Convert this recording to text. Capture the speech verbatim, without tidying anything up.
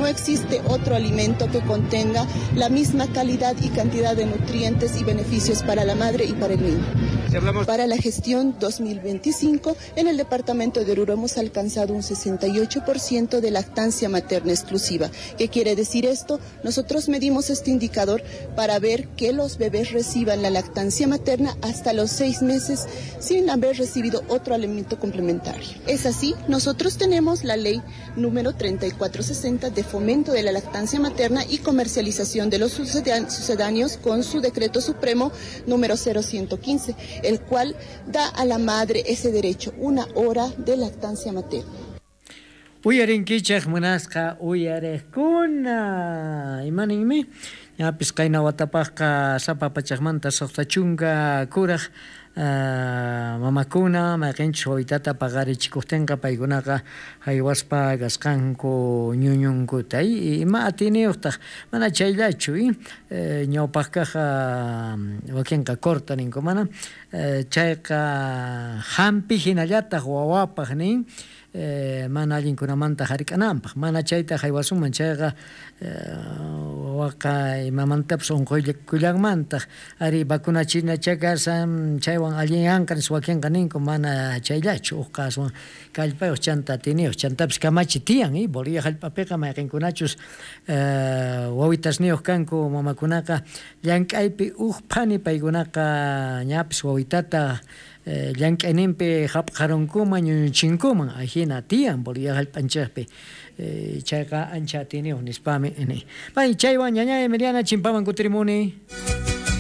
No existe otro alimento que contenga la misma calidad y cantidad de nutrientes y beneficios para la madre y para el niño. Para la gestión dos mil veinticinco, en el departamento de Oruro hemos alcanzado un sesenta y ocho por ciento de lactancia materna exclusiva. ¿Qué quiere decir esto? Nosotros medimos este indicador para ver que los bebés reciban la lactancia materna hasta los seis meses sin haber recibido otro alimento complementario. Es así, nosotros tenemos la ley número treinta y cuatro sesenta de fomento de la lactancia materna y comercialización de los sucedáneos con su decreto supremo número cero ciento quince, el cual da a la madre ese derecho, una hora de lactancia materna. Uyarinkichej munasqa uyarejkuna imaninmi ñapis qayna watapajqa sapa pachajmanta suqta chunka kuraj Uh, mamakuna mayqinchus wawitata paqarichikuqtinqa paykunaqa haywaspa kasqanku ñuñunkuta ima atiniyuqtaq mana chayllachu eh, ñawpaqkaqqa wakinqa corta ninku mana eh, chayqa hampi hinallataq wawapaq nin eh, mana allinkunamanta hark'ananpaq mana chayta haywasunman chayqa eh, wawaqa imamantapas unquykullanmantaq ari vacunachina chakasan chaywan allinyanqa nispa wakinqa ninku mana chayllachu uqqa aswan kallpayuq chanta atiniyuq chantapis kamachi tiyan eh, Bolivia hallp'apiqa mayqinkunachus eh, wawitasniyuq kanku mamakunaqa llank'aypi uq phani paykunaqa ñapis wawitata eh, llank'ayninpi hapqarunkuman ñuñuchinkuman ajina tiyan Bolivia hallp'anchikpi eh, chayqa ancha atiniyuq nispami ni. Pay chaywan ñañay Emiliana chimpaman kutirimuni.